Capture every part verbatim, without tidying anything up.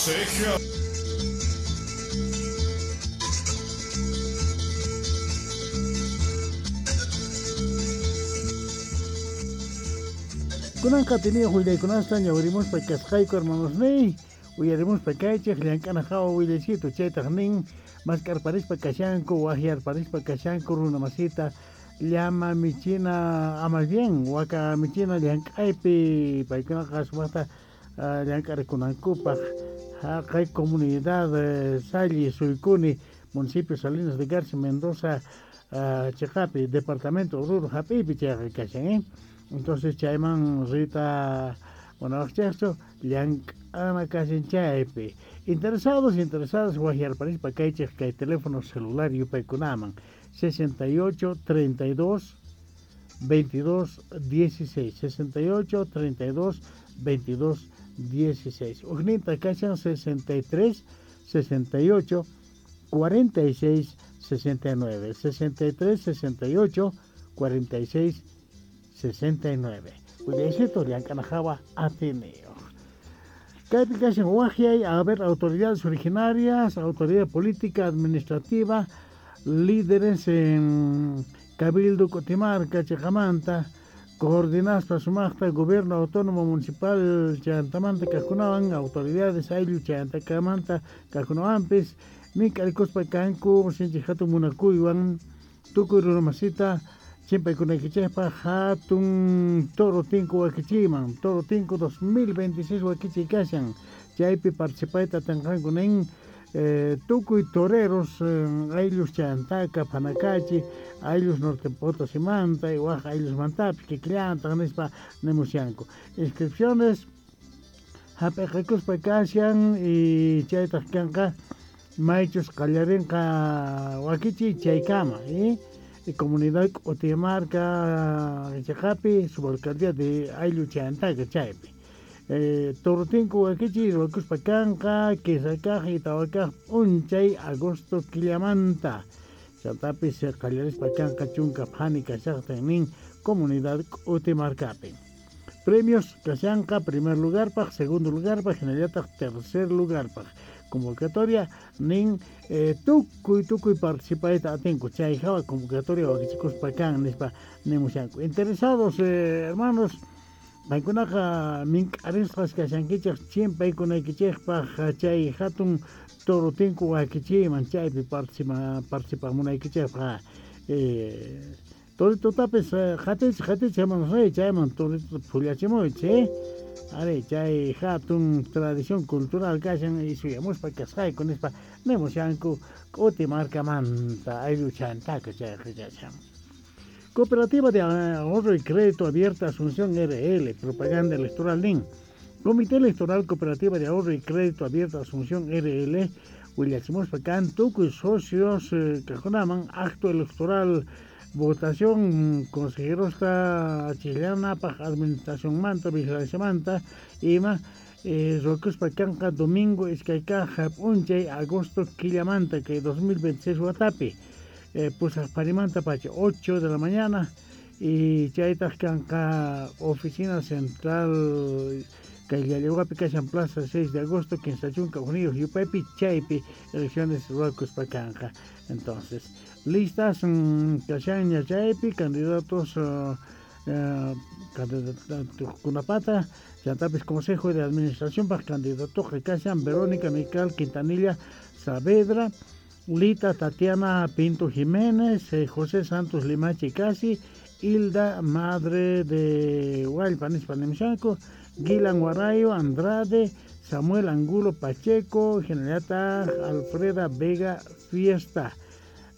Sergio. Kunanqa tenido willaykunasta ñawirimuspa kasqayku hermanos ney uyarimuspa kaychej llank'ana hawa willaychito chaytaq nin mask'arparispa kashanku waqyarparispa kashanku runa masita llama michina ama bien waka michina llank'aypi paykunaqa sumaqta llank'arikunankupaq haqay comunidad Salli Suicuni municipio Salinas de Garza Mendoza chiqapi departamento Oruro hap'iypi chayqa kashan eh entonces chayman rita munawaqchaychu llank'ana kashan chaypi interesados interesadas waqyarparispa kaychej kay teléfono celular yupaykunaman sesenta y ocho treinta y dos veintidós dieciséis sesenta y ocho treinta y dos veintidós dieciséis ujninta kashan sesenta y tres sesenta y ocho cuarenta y seis sesenta y nueve sesenta y tres sesenta y ocho cuarenta y seis sesenta y nueve Willaycito llank'ana hawa Ateneo. Kaypi kashan waqyay a ver autoridades originarias, autoridad política, administrativa, líderes en Cabildo Cotimarca, Chejamanta, coordinaspa sumaqta gobierno autónomo municipal Chantamanta kajkunawan, autoridades ayllu Chantakamanta kajkunawanpis, mink'arikuspa kanku sinchi hatun munakuywan tukuy runamasita chimpaykunaykichejpaj hatun Toro Tinku wakichiyman Toro Tinku dos mil veintiséis wakichiy kashan chaypi participayta atinqanku nin eh, tukuy toreros eh, ayllus Chantaka, Panacachi, ayllus Norte Potosimanta y waj ayllusmantapis kikillantaq nispa nimushanku inscripciones hap'iqakuspa kashan y chaytaq kanqa maychus qallarinqa wakichiy chaykama eh? Y comunidad Cotimarca chiqapi subalcaldía de ayllu Chantaka chaypi eh, Toro Tinku wakichiy ruwakuspa kanqa kinsa kaq y tawa kaq p'unchay agosto killamanta chantapis qallarispa kanqa chunka phani kashaqtin nin comunidad Cotimarcapi premios kashanqa primer lugarpaj segundo lugarpaj hinallataq tercer lugarpaj convocatoria nin eh, tukuy tukuy participayta atinku chay hawa convocatoria wakichikuspa kan nispa nimushanku interesados eh, hermanos paykunaqa mink'arisqas kashankichej chimpaykunaykichejpaj chay hatun Toro Tinku wakichiyman chaypi participa participamunaykichejpaj eh, toritotapis qatichej qatichej hermanos chayman torito phullachimuychis eh? Ari chay hatun tradición cultural kashan y suyamuspa kasqayku nispa nimushanku K'utimarkamanta ayllu Chantaka chayqa kashan. Cooperativa de Ahorro y Crédito Abierta Asunción R L, propaganda electoral nin. Comité Electoral Cooperativa de Ahorro y Crédito Abierta Asunción R L, willachimuspa kan tukuy socios eh, kajkunaman acto electoral votación consejerosta chillanapaj administración manta vigilancia manta ima eh, ruwakuspa kanqa domingo iskay kaq p'unchay agosto killamanta kay dos mil veintiséis watapi eh, pusaq parimanta pacha ocho de la mañana y chaytaq kanqa oficina central kay Llallawapi kashan plaza seis de agosto kinsa chunka hukniyuq yupaypi chaypi elecciones ruwakuspa kanqa entonces listas kashanña chaypi candidatos uh, uh, candidatukunapata chantapis consejo de administración paj candidatoqa kashan Verónica Mical Quintanilla Saavedra Lita Tatiana Pinto Jiménez eh, José Santos Limachi Casi Hilda Madre de Hualpa nispa nimushanku Gilan Guarayo Andrade Samuel Angulo Pacheco Generata Alfreda Vega Fiesta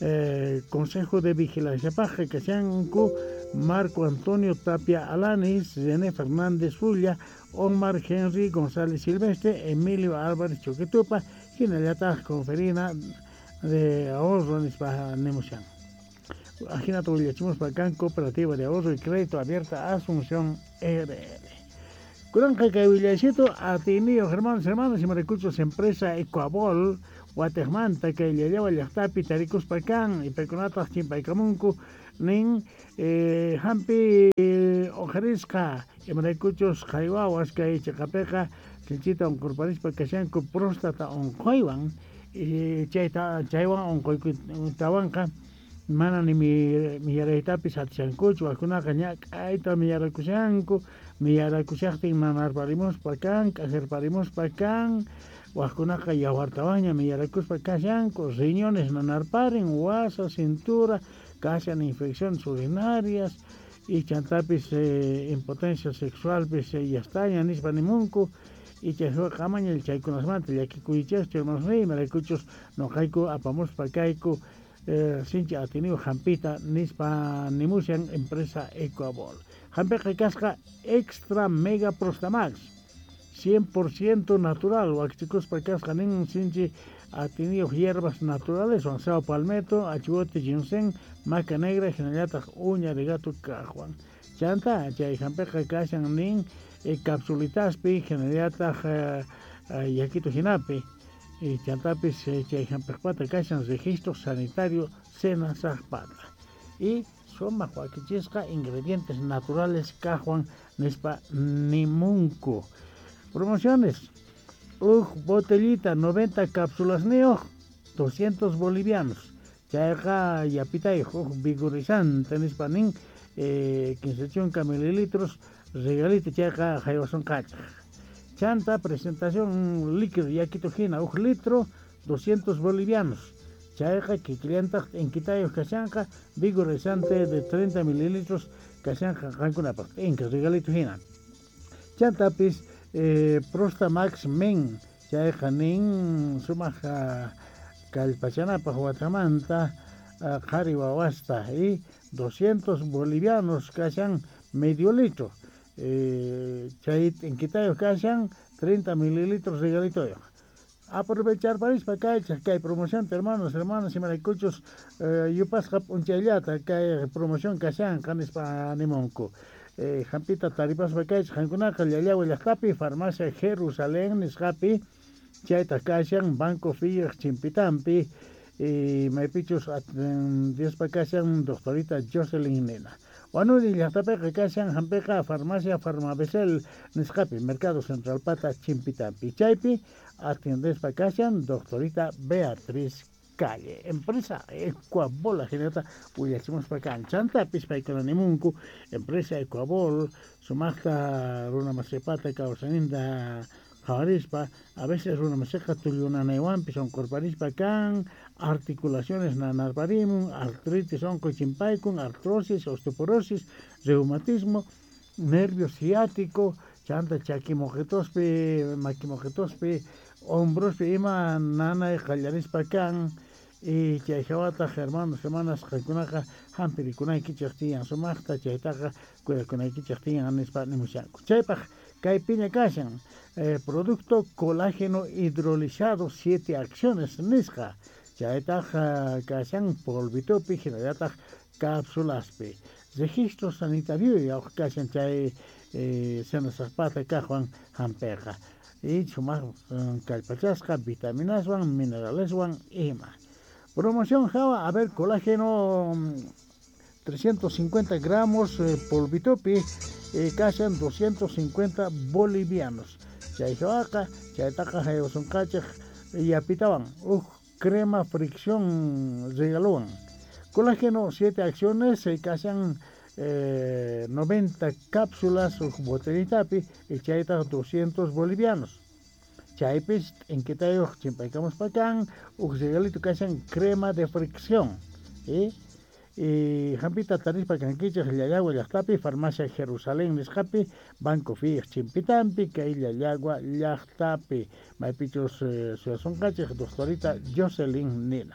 eh, Consejo de Vigilancia Paja kashanku Marco Antonio Tapia Alanis, René Fernández Fulla, Omar Henry González Silvestre, Emilio Álvarez Choquetupa, hinallataq conferina de ahorro nispa nimushan. Ajinata willachimuspa kan Cooperativa de Ahorro y Crédito Abierta Asunción R L. Kunanqa kay willaycito atiniyo hermanos hermanas imaraykuchus empresa Ecuabol Guatemanta kay Llallawa llaqtapi tarikuspa kan y paykunataq chimpaykamunku nin eh, hampi oqharisqa imaraykuchus qhaywawas kay chiqapiqa Sinchita unqurparispa kashanku próstata unquywan chayta chaywan unquykutawanqa mana ni miyaraytapis atishankuchu wakunaqa ñak'ayta miyarakushanku miyarakushaqtin nanarparimuspa kan k'ajarparimuspa kan wajkunaqa yawartawanña miyarakuspa kashanku riñones nanarparin wasa cintura kashan infecciones urinarias y chantapis eh, impotencia sexualpis eh, yastaña nispa nimunku y chayqa amaña chaykunasmanta llakikuychaschu hermanos imaraykuchus noqayku apamuspa kayku eh, sinchi atiniyu hampita nispa nimushan empresa Ecuabol. Hampiqa kasqa extra mega Prostamax cien por ciento natural wakichikuspa kasqa nin sinchi atiniyuq hierbas naturales wan sao palmetto, achiwote ginseng, maca negra hinallataq uña de gato kaqwan. Chanta chay hampiqa kashan nin eh, capsulitaspi hinallataq eh, eh, yakito hinapi y chantapis eh, chay hampiqpata kashan registro sanitario Senasaqpata y sumaq wakichisqa ingredientes naturales kaqwan nispa nimunku. Promociones: uj botellita noventa cápsulas niyuq doscientos bolivianos chayqa yapitayuq uj vigorizante nispa nin eh, quince chunka mililitros regalito chayqa haywasunqachaq. Chanta presentación líquido yakito hina uj litro doscientos bolivianos chayqa kikillantaq t'inkitayuq kashanqa vigorizante de treinta mililitros kashanqa qankunapaq t'inka regalito hina. Chantapis eh, Prostamax Men chayqa nin sumaq kallpachanapaq watamanta qhari wawasta y doscientos bolivianos kashan medio litro eh, chay t'inkitayuq kashan treinta mililitros regalitoyuq. Aprovechar parispa kaychaq kay promoción hermanos hermanas imaraykuchus eh, yupasqa p'unchayllata kay promoción kashanqa nispa nimunku. Eh, hampita taripaspa kaychaq qankunaqa Llallagua llaqtapi farmacia Jerusalén nisqapi chaytaq kashan Banco Fiyaq chimpitampi y maypichus Diospa kashan doctorita Jocelyn nena. Huanuni llaqtapiqa kashan hampiqa farmacia Farmabesel nisqapi Mercado Central pata chimpitampi chaypi atiendespa kashan doctorita Beatriz Calle. Empresa Ecuabol jinata willachimuspa kan chantapis paykuna nimunku empresa Ecuabol sumaqta runa masipata kawsaninta qhawarispa a veces runa masiqa tullunanaywanpis unqurparispa kan articulaciones nanarparimun artritis unquy chimpaykun artrosis osteoporosis reumatismo nervio ciático chanta chakimoqitospi makimoqitospi hombrospi ima nanay qallarispa kan y chay hawataq hermanos hermanas qankunaqa hampirikunaykichaq tiyan sumaqta chaytaqa cuidakunaykichaq tiyan nispa nimushanku. Chaypaq kaypiña kashan eh, producto colágeno hidrolizado siete acciones nisqa chaytaq uh, kashan polvitopi hinallataq cápsulaspi registro sanitario yawq kashan chay eh, Senasaqpata kaqwan hampiqa y sumaq um, kallpachasqa vitaminaswan mineraleswan ima. Promoción hawa, a ver, colágeno trescientos cincuenta gramos eh, polvitopi eh, kashan doscientos cincuenta bolivianos. Chay hawaqa chaytaqa haywasunqachaq yapitawan uj crema fricción regalowan. Colágeno siete acciones eh, kashan eh, noventa cápsulas uj botellitapi y chaytaq doscientos bolivianos. Chaypis t'inkitayuq chimpaykamuspa kan uj regalito kashan crema de fricción. ¿Eh? Y hampita tarispa kankichaq Llallagua llaqtapi farmacia Jerusalén nisqapi Banco Fiyaq chimpitampi kay Llallagua llaqtapi maypichus eh, suyasunqachik doctorita Jocelyn nina.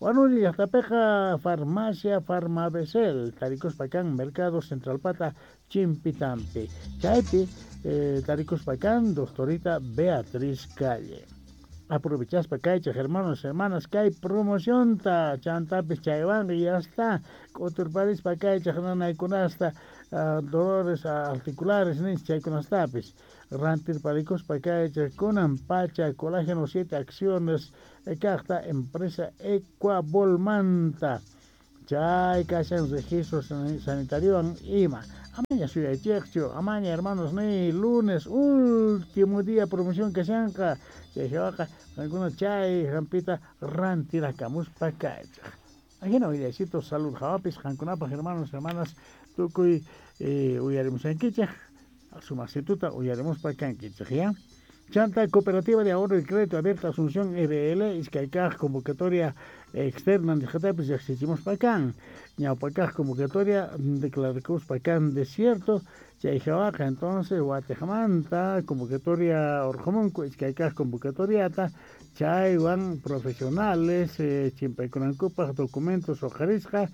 Huanuni llaqtapiqa farmacia Farmabesel tarikuspa kan Mercado Central pata chimpitampi chaypi eh, tarikuspa kan doctorita Beatriz Calle. Aprovechaspa kaychaq hermanos hermanas kay promocionta chantapis chaywanqa ya está k'uturparispa kaychaq nanaykunasta uh, dolores articulares nis chaykunastapis rantirparikuspa kaychaq kunan pacha colágeno siete acciones kaqta empresa Ecuabolmanta chay kashan registro sanitariowan ima Amaña suyaychejchu, amaña hermanos ni lunes último día promoción kashanqa. Chay hawaqa qankuna chay hampita rantirakamuspa kaychej. Ajina willaysitos salud hawapis qankunapaj hermanos hermanas tukuy eh, uyarimushankichej sumasituta uyarimuspa kankichej ya. Chanta Cooperativa de Ahorro y Crédito Abierta Asunción R L, iskaykaj convocatoria externa nisqatapis riqsichimuspa kan. Ñawpakaj convocatoria declarakuspa kan desierto, chay hawaqa entonces watejmanta convocatoria urqumunku iskaykaj convocatoriata chaywan profesionales eh, chimpaykunankupaj documentos uqharisqa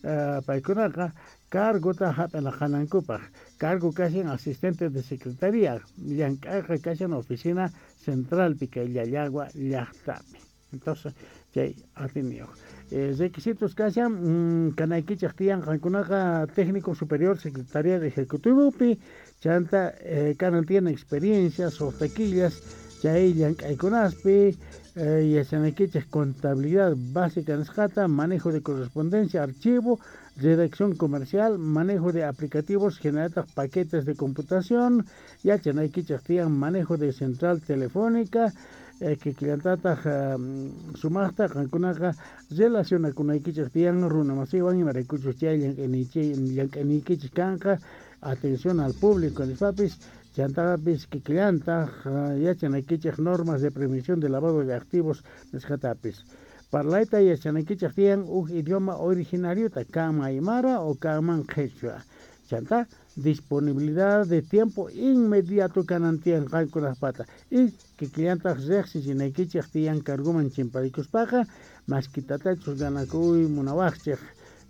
eh, paykunaqa cargota hap'inaqanankupaj. Cargo kashan asistente de secretaría, llank'ayqa kashan oficina centralpi kay Llallagua llaqtapi. Entonces chay atiniyuq. Eh, requisitos kashan mm, kanaykichej tiyan qankunaqa técnico superior secretaría de ejecutivopi, chanta eh, kanan tiyan experiencia suqta killas chay llank'aykunaspi eh, yachanaykichej contabilidad básica nisqata, manejo de correspondencia, archivo, redacción comercial, manejo de aplicativos, generar paquetes de computación, yachanaykichej tiyan manejo de central telefónica, eh, kikillantataq um, sumaqta qankunaqa relacionakunaykichej tiyan runa masiwan imaraykuchus chay llank'aniykichej kanqa atención al público nispapis chantapis kikillantaq yachanaykichej normas de prevención de lavado de activos nisqatapis. Parlayta yachanaykichej tiyan uj idioma originariota kanman aymara o kanman qhechua. Chanta disponibilidad de tiempo inmediato kanan tiyan qankunajpata y kikillantaq riqsichinaykichej tiyan carguman chimparikuspaqa maskitatachus ganakuy munawaqchej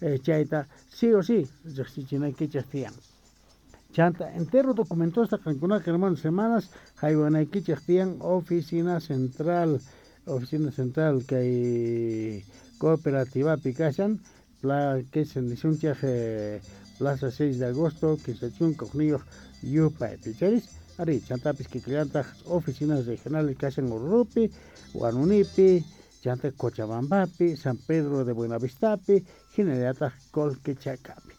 eh, chayta sí o sí riqsichinaykichej tiyan. Chanta entero documentosta qankunaqa hermanos hermanas haywanaykichej tiyan oficina central, oficina central kay cooperativapi kashan pla que se nisunchej eh, Plaza seis de agosto, kinsa chunka hukniyuq yupaypi charis. Ari chantapis kikillantaq oficinas regionales kashan Oruro,pi, Huanunipi, chanta Cochabambapi, San Pedro de Buenavistapi, hinallataq Colquechacapi.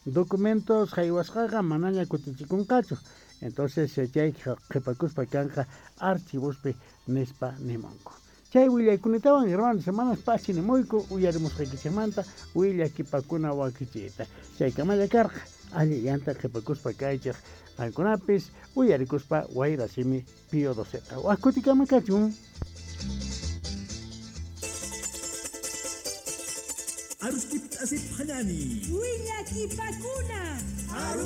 Documentos haywasqaqa manaña kutichikunqachu. Entonces chay qhipakuspa kanqa archivospi nispa nimunku. Chay willaykunatawan hermanos hermanas pachi nimuyku uyarimusqaykichikmanta willakipakuna wakichiyta. Chaykamalla karqa allillanta qhipakuspa kaychej qankunapis uyarikuspa wayrasimi Pío doceta. Waj kutikama kachun. Aruskip asip hanani. Willakipakuna. Aru